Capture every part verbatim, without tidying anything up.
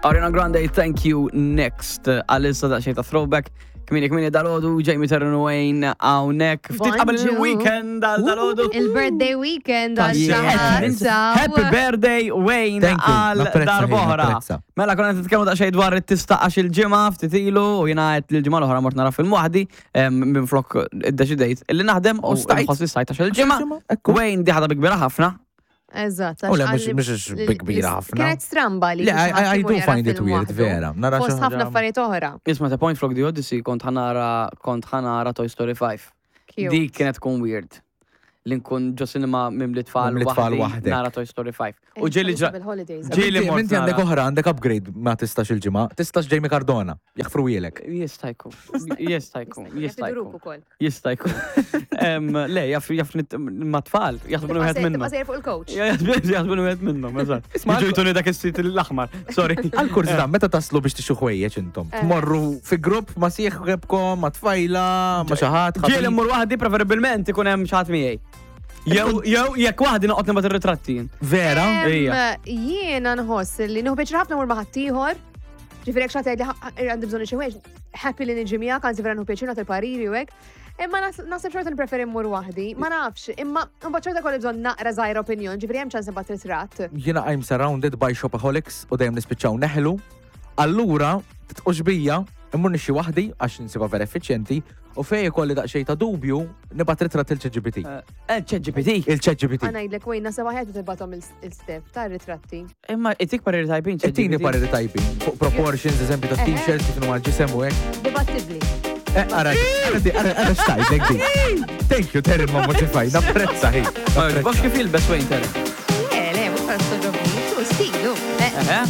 Ariana Grande, "Thank You, Next". Għalissa daqsxejn ta' throwback. Kmieni kmieni dalgħodu, Jamie, Taryn, Wayne hawnhekk. Ftit qabel Bonġu. il-weekend għal dalgħodu. Il-birthday weekend għal Yes. xi ħadd. Happy birthday, Wayne, Thank you. għal Napprezza, darb'oħra. napprezza. Mela, konna nitkellmu daqsxejn dwar it-tista għax il-ġimgħa ftit ilu u jiena għedt li l-ġimgħa l-oħra mort nara film waħdi minn flok iddeċidejt illi naħdem u U stajt. nħoss li stajt għax il-ġimgħa. Ekku. Wayne di ħadha bi kbira ħafna. Eżatt. U le, għax mhux- għalli- mhux li- bi kbira li- ħafna. Kienet stramba li. Le, I- I- I do find it weird, vera. Nara xi Fost ħafna ħaġa- affarijiet oħra. Isma', ta' point flok The Odyssey kont ħa nara kont ħa nara Toy Story five. Cute. Dik kienet tkun weird. Li nkun ġo cinema mimli tfal Mimli tfal waħdi waħdek. nara Toy Story five. U Eh, ġieli ġa. bil-holidays. Ġieli Inti mort inti għandek nara. oħra, għandek upgrade, ma tistax il-ġimgħa, tistax Jamie Cardona, jaħfru jilek. Jista' jkun. Jista' jkun. Jista' Jafiduruk jkun. ukoll. Jista' jkun. Em, Le, jaf jaf nit- ma tfal, jaħsbu wieħed Tibqa' minnhom. sejjer fuq il-coach. Jaħsbu wieħed minnhom, eżatt. Isma' Jiġu jtuni dak is-seat l-aħmar. Sorry. Għal-kurżità, meta taslu biex tixtru ħwejjeġ intom? Eh. Tmorru fi grupp ma' sieħbkom, ma' tfajla, ma' xi ħadd? Ġieli mmur waħdi, preferibilment ikun hemm xi ħadd miegħi. Jew jew jekk waħdi noqgħod nibgħat ir-ritratti jien. Vera? Em, Ija. Jiena nħoss li nieħu pjaċir ħafna mur ma' ħaddieħor. Ġifieri jekk xi ħadd jgħidli għandi bżonn xi ħwejjeġ, happy li niġi miegħek, anzi vera nieħu pjaċir nagħti pariri u hekk. Imma nas- naħseb xorta nippreferi mmur waħdi, ma nafx, imma mbagħad xorta kolli bżonn naqra żgħira opinjon, ġifieri hemm ċans nibgħat ritratt. Jiena I'm surrounded by shopaholics u dejjem nispiċċaw neħlu. Allura, titqux bija, immur nixtri waħdi għax nsibha vera effiċjenti u fej ikolli daqsxejn ta' dubju nibgħat ritratt il-ChatGPT. Eh, ChatGPT. Il-ChatGPT. Ħa ngħidlek, Wayne, naħseb aħjar tibgħathom il-step ta' ritratti. Imma itik pariri tajbin. Ittini ChatGPT. pariri tajbin fuq proportions, eżempju ta' Eħe. T-shirts, kif huma l-ġisem u hekk. Dibattibbli. Eh, ara, ara, di- ara, ara x'tgħidlek di. Thank you, Terry, ma modify, napprezza hi. Ma jogħġbokx kif jilbes Wayne, Terry? Le, le, mhux għax togħġobni, tu stilu. Eh, Eħe.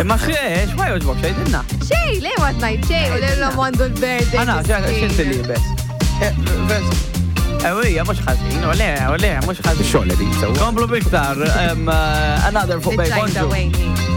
Imma xie, x'ma jogħġbok xejdilna? Xej, le ma tnajt xej, u l-lum għandu l-birthday. Għana, x'inti libes? Ewija, mhux ħażin, u le, u le, mhux ħażin. Xogħol di, sewwa. Komplu biktar, em, eh, another fuq Bay Bonġu. Bonġu. Wayne.